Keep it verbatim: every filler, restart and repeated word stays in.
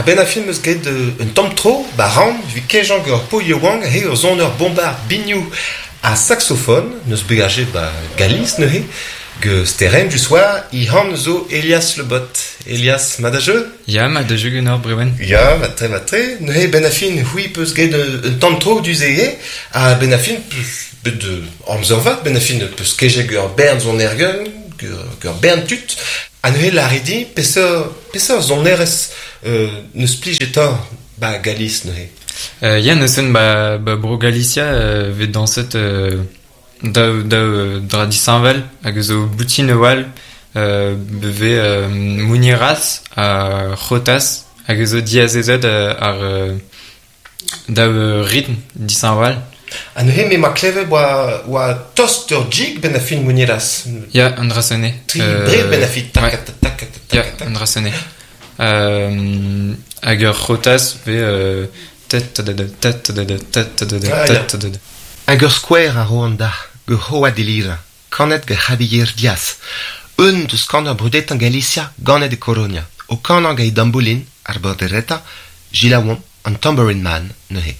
ben a film eus get un tamm tro, ba ran, vi kejañ gant ur paotr yaouank he ur soner bombard biniou ha saxofon, neus begajet ba Galis neuze, ge Sterenn du soir, i han zo Elias Le Bot. Elias, ma da jeu? Ya, ma da jeu ganeoc'h Brewen. Ya, ma tre, ma tre. Neuze ben a fin c'hwi peus get un tamm tro du ze ha ben a fin peus bet amzer vat, ben a fin peus kejet ur bern sonerien, ur bern tud. Ha neuze lâret peseurt peseurt sonerezh euh, neus plijet ba Galis neuze. Euh, ya, neuzen ba, ba bro Galicia euh, vet dañset euh, daou, daou dra disheñvel hag zo boutin a-walc'h euh, beve euh, muñeiras ha jotas hag zo diazezet euh, ar euh, daou ritm disheñvel. Ha neuze me ma klevet oa, oa tost ur jig ben a fin muñeiras. Ya, an dra sene. Tri euh, bre ben a fin tak, ouais. tak, tak, tak, Ya, an dra sene. Euh, hag ur jotas ve euh, Hag ur skouer a roan da, ge hoa delira, kanet ge Javier Diaz, un deus kaner brudetañ Galicia ganet e Coronia, o kanañ gant e damboulin, ar bordereta, Gilawon, an Tambourine Man, neuze.